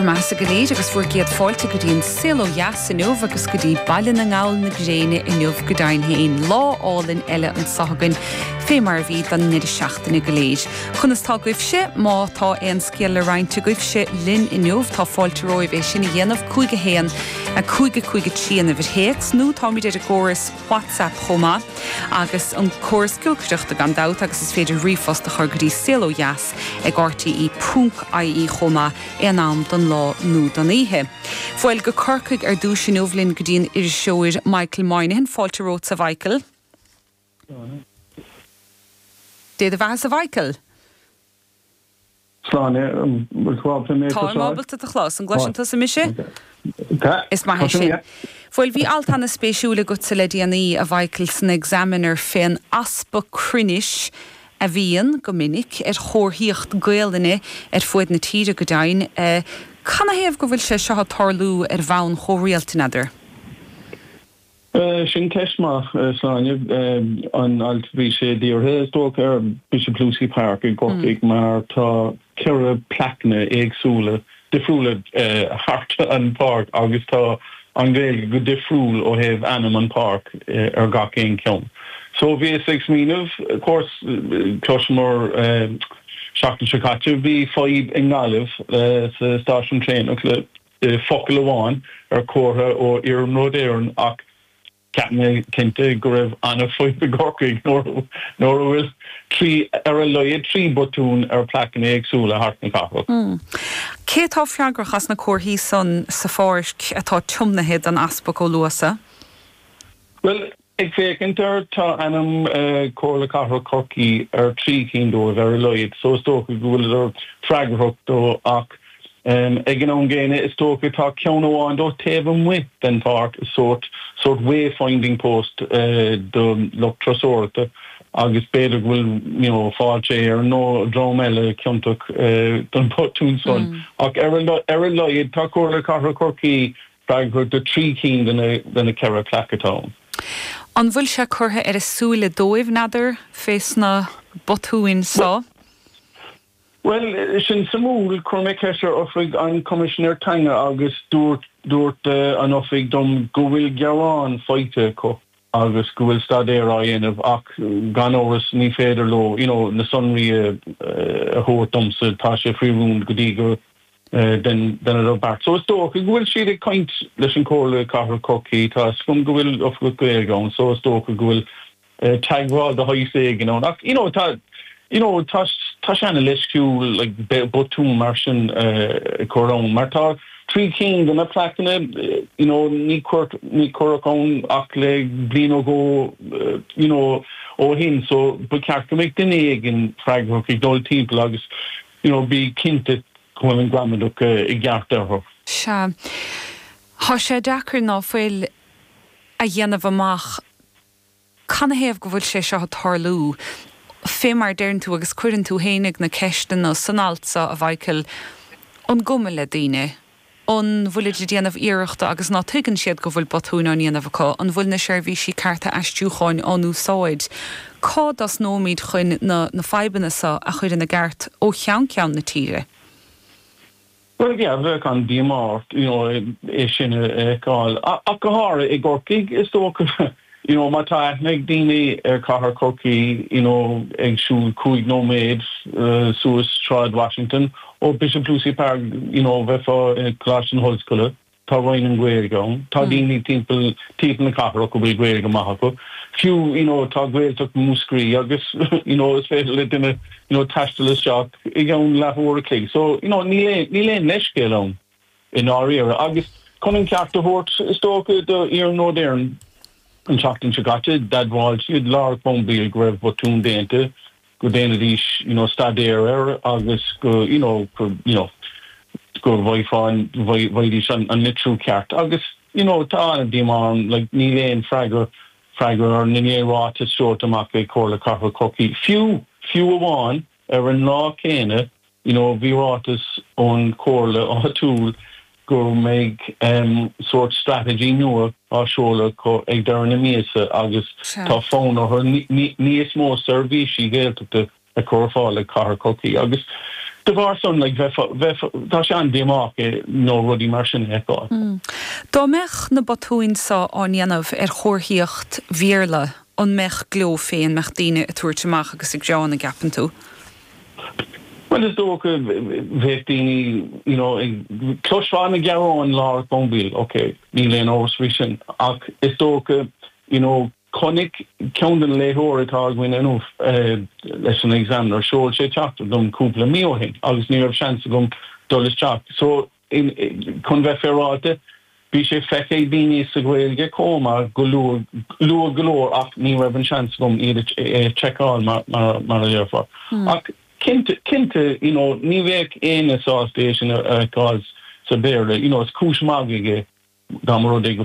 Bhur mbeathasa go léir agus bhur gcéad fáilte go dtí an Saol Ó Dheas inniu agus go dtí Baile na nGall na gréine inniu go deimhin féin. Lá álainn eile anso againn fé mar a bhí don ndeireadh seachtaine go léir. Conas tá agaibhse? Má tá aon scéal le roinnt agaibhse linn inniu tá fáilte romhaibh é sin a dhéanamh, 5 1 5 5 3 an uimhir théacs nó táimid ar an gcóras WhatsApp chomh maith agus an córas giolcaireachta gan dabht agus is féidir ríomhphost a chur go dtí saolodheas ag rte ponc ie chomh maith aon am don lá nó don oíche. Bhuel, go Corcaigh ar dtúis inniu linn go dtí an iriseoir Michael Moynihan. Fáilte romhatsa a Mhichael. Dé do bheathasa a Mhichael. Sláine, an bhfuil tú ábalta mé a Táim chloisteáil? ábalta tú a chlos. An gcloiseann tusa mise? Tá. Is maith é sin. Bhuel, bhí alt ana-spéisiúil agatsa le déanaí, a Mhichael, san Examiner fén easpa cruinnis a bhíonn, go minic, ar chomharthaíocht Gaolainne ar fuaid na tíre, go deimhin. Canathaobh go bhfuil sé seo ag tarlú ar bhonn chomh rialta, n'fheadar? Sin ceist maith, Sláine. An alt, bhí sé dírithe, is dócha, ar Bishop Lucy Park i gCorcaigh mar tá 4 plaiceanna éagsúla, difriúla thart an pháirc agus tá an Ghaeilge go difriúil ó thaobh ainm an pháirc ar gach aon cheann. So bhíos ag smaoineamh, of course, chloiseamar seachtain seo caite, bhí fadhb i nGaillimh sa stáisiún traenach le focal amháin ar chomhartha ó Iarnród Éireann ach cheap mé cinnte go raibh an-fhadhb i gCorcaigh nuair a bhfuil trí, ar a laghad trí botún ar plaiceanna éagsúla thart na cathrach. Cé atá freagrach as na comharthaí san sa pháirc atá tiomnaithe don Easpag Ó Luasa? Bhuel, Ag féachaint air, tá ainm Comhairle Cathrach Chorcaí ar thrí cinn dóibh ar a laghad, so is dócha go bhfuileadar freagrach dó ach ag an am gcéanna is dócha tá ceann amháin dó taobh amuigh den pháirc, sórt sórt wayfinding post do lucht turasóireachta agus b'fhéidir go bhfuil you know Fáilte Éireann nó dream eile ciontach don bhotún san ach ar a laghad tá Comhairle Cathrach Chorcaí Freagrach do thrí cinn de na 4 plaic atá ann. An bhfuil sé curtha ar a súile dóibh, n'fheadar, fé sna botúin so? Bhuel, sin suimiúil. Chuir mé ceist ar oifig an Choimisinéir Teanga agus dúirt dúirt an oifig dom go bhfuil gearán faighte acu agus go bhfuil staidéar á dhéanamh ach gan amhras ní féidir leo you know na sonraí a thabhairt domsa, tá sé faoi rún go dtí go ndéanadar beart. So is dócha go bhfuil siad ag caint leis an Comhairle Cathrach Chorcaí, tá a fhios agam go bhfuil oifigeach Gaeilge ann so is dócha go bhfuil teagmháil de shaghas éigin ann. Ach you know tá you know tá tá sé ana-leisciúil like botún mar sin a chur ann mar tá trí cinn de na plaiceanna you know ní cuirt ní cuireadh ann ach le bliain nó dhó you know ó shin so ba cheart go mbeadh duine éigin freagrach ag dul timpeall agus you know bí cinnte go bhfuil an gramadach i gceart orthu. Sea. Thá sé deacair ná fuil a dhéanamh amach canathaobh go bhfuil sé seo ag tarlú. Fé mar deireann tú agus cuireann tú fhéinig na ceisteanna san alt so, a Mhichael, an gcuma le daoine? An bhfuilid ag déanamh iarrachta agus ná tuigeann siad go bhfuil botúin á ndéanamh acu? An bhfuil na seirbhísí cearta aistriúcháin á n-úsáid? Cá dtosnóimid chun na na fadhbanna so a chur ina gceart ó cheann ceann na tíre? Bhuel, yeah, bheadh an-díomá ort, you know, é sin a fheiceáil. Ach go háirithe i gCorcaigh, is dócha. You know, má tá aithne ag daoine ar chathair Chorcaí, you know, ag siúl 5 nóiméad suas Sráid Washington ó Bishop Lucy Park, you know, bheifeá i gColáiste na hOllscoile, tá Roinn na Gaeilge ann, tá daoine timpeall, timpeall na cathrach a bhfuil Gaeilge maith acu. Fiú, you know, tá Gaeltacht Mhúscraí agus, you know, is féidir le duine, you know, taisteal isteach i gceann leathuair a chloig. So, you know, níl aon, níl aon leithscéal ann. i ndáiríre. Agus chun an ceart a thabhairt, is dócha, do Iarnród Éireann, an tseachtain seo caite, d'admháil siad Laura Crumbie go raibh botún déanta, go ndéanfaidís, you know, staidéar air agus go, you know, go, you know, go bhfaighfeá, bhfaighidís an litriú ceart. Agus, you know, tá an-díomá orm, like, níl aon freagra, freagra ar, níl aon ráiteas seolta amach ag Comhairle Cathrach Chorcaí, fiú, fiú amháin ar an lá céanna You know, bhí ráiteas ón chomhairle áitiúil go mbeidh sórt strategy nua á seoladh acu ag deireadh na míosa agus tá fonn orthu níos mó seirbhísí Gaeltachta a chur ar fáil ag Cathair Chorcaí agus. De bharr san, like, bheifeá, bheifeá, tá sé an-díomách you know rudaí mar sin a fheiceáil. Dá mbeadh na botúin seo á ndéanamh ar chomharthaíocht Bhéarla, an mbeadh gleo fé, an mbeadh daoine ag tabhairt amach agus ag gearán, an gceapann tú? Bhuel, is dócha, bheadh daoine, you know, ag, chloisfeá na gearáin láithreach bonn ball, ok, níl aon amhras faoi sin, ach is dócha, you know, Chonaic ceann de na léitheoirí atá againn inniu leis an Examiner, sheol sé teachtaireacht dom cúpla mí ó shin agus ní raibh seans agam dul isteach. So, chun bheith féaráilte, bhí sé feicthe ag daoine sa Ghaeilge chomh maith go luath, luath go leor ach ní raibh an seans agam iad a sheiceáil mar a déarfá. Ach cinnte, cinnte, you know, ní bheadh éinne sásta é sin a fheiceáil sa Bhéarla, you know, is cúis magaidh é dá mba rud é go.